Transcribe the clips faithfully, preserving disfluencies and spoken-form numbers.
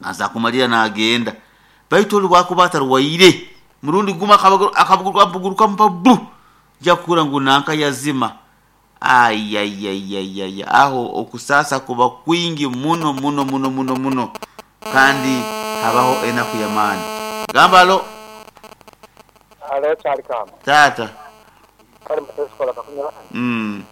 Aza kumalira nagenda. Baitu oli bwakuba atarwaire, murundi gumu akabuguruka bu jakura ngu nanka yazima. Ayayayayaya, aho okusasa kuba kwingi muno muno muno muno muno, kandi habaho enaku y'amaani. Gamba alo. Alo, kyali kama. Tata. Kali mutesikola kakunywa. Mm.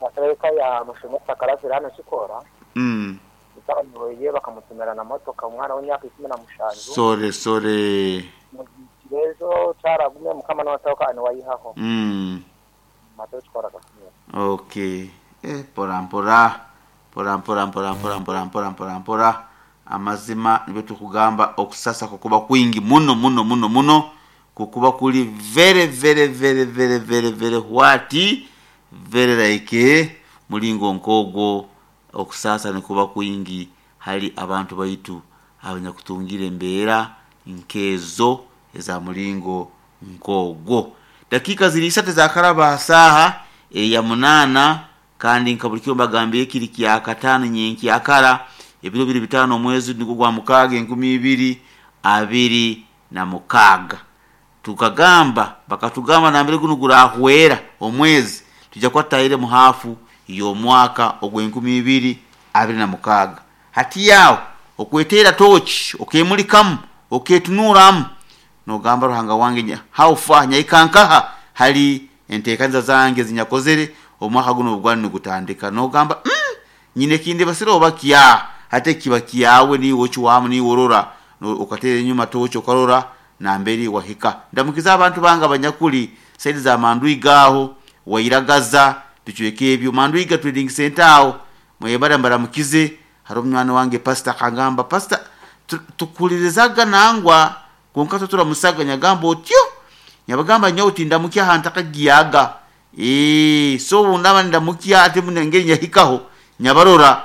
Masereka ya mushomesa karazira hano kikora. Mm. Itabanyoye bakamutumira na motoka umwana w'imyaka ikumi na mushanju. Sore sore. Mugirezo cyaragumye mukama n'abatoka ani wayihaho. Mm. Matesikola kakunywa. Okay. Eh, pora mpora. Pora mpora mpora mpora mpora mpora mpora mpora. Amazima nibyo tukugamba okusasa kukuba kwingi muno muno muno muno, kukuba kuli very very very very very very what very like mulingo nkogwo. Okusasa nikuba kwingi hali abantu baitu abanyakutungira embeera nkezo eza mulingo nkogwo. Dakika ziri isatu zakaraba saha eya munana, kandi nka buli kiro mbagambiye kiri kya katano nyenki akara ebiro biri bitano omwezi nigwo gwa mukaaga enkumi ibiri abiri na mukaaga. Tukagamba bakatugamba nambere guno gurahwera omwezi tujja kwatayire mu hafu y'omwaka ogw'enkumi ibiri abiri na mukaaga. Hati yawo okwetera tochi okemulikamu oketunuramu nogamba Ruhanga wange how far nyaikankaha hali enteekaniza zange zinyakozere omwaka guno ogwani nigutandika, nogamba mm, nyine kindi basira oba kya hate kiba kyawe ni wochi wamu ni worora okatera enyuma tochi okarora namberi wahika. Ndamukiza abantu banga abanyakuli saidi za Mandwiga aho wairagaza bicweke ebyo Mandwiga Trading Center aho mwebara mbaramukize. Hari omwana wange pastor kangamba pastor tukulirizaga nangwa konka tuturamusaga nyagamba otyo nyabagamba nyawe tindamukya ahantu akagiyaga eh so ndaba ndamukya ate munengeri nyahikaho nyabarora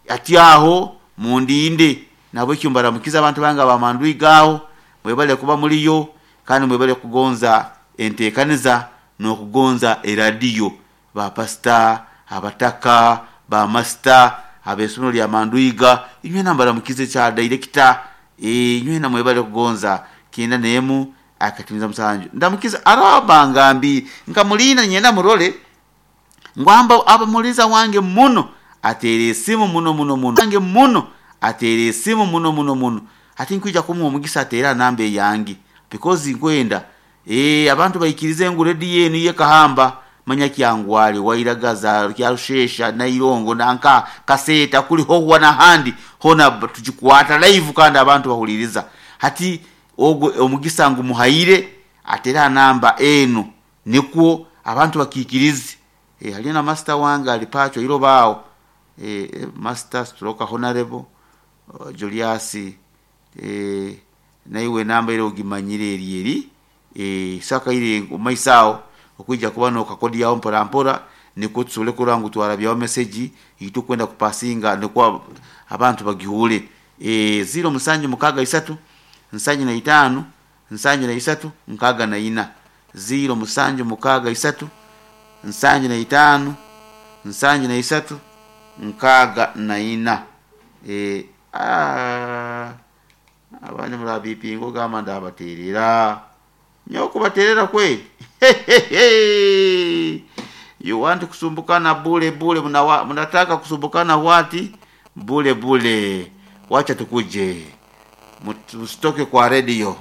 ati aho mundinde. Nabo ekyo mbaramukiza abantu banga ba Mandwiga aho mwebale kuba muliyo, kandi mwebale kugonza enteekaniza n'okugonza eradiyo ba pastor abataka ba master ab'essomero lya Mandwiga inywe nambaramukize kya director eh inywe namwebale kugonza kenda nemu akatimiza musanju. Ndamukiza araba ngambi nkamulina nyenda murole ngwamba abamuliza wange muno atere esimu muno muno muno wange muno atere esimu muno muno muno ati nkwija kumuha omugisa atera namba eyange because nkwenda eh abantu bayikirize ngu rediyo enu yekahamba manya kyangwale wairagaza kyarushesha nairongo nanka kaseta kuli howa nahandi hona tujikwata live kandi abantu bahuliriza. Hati ogwo omugisa ngu muhaire atera namba enu nikwo abantu bakikirize. E, halina master wange alipacho ilo bao e, master stroke honorable uh, Julius e, naiwe namba ile ogimanyire eri eri e, saka ile omaisao okuija kuba no kakodi yao mpora mpora niko tusole kurangu twarabyaho message itu kwenda kupasinga niko abantu bagihule e, zero musanju mukaga isatu nsanju na itano nsanju na isatu nkaga na ina zero musanju mukaga isatu nsanju na itano nsanju na isatu nkaga na ina. E, ah, abandi murabipingo gamba ndabaterera nyoko baterera kweli. You want kusumbukana bule bule, mnataka kusumbukana wati bule bule. Wacha tukuje, msitoke kwa radio.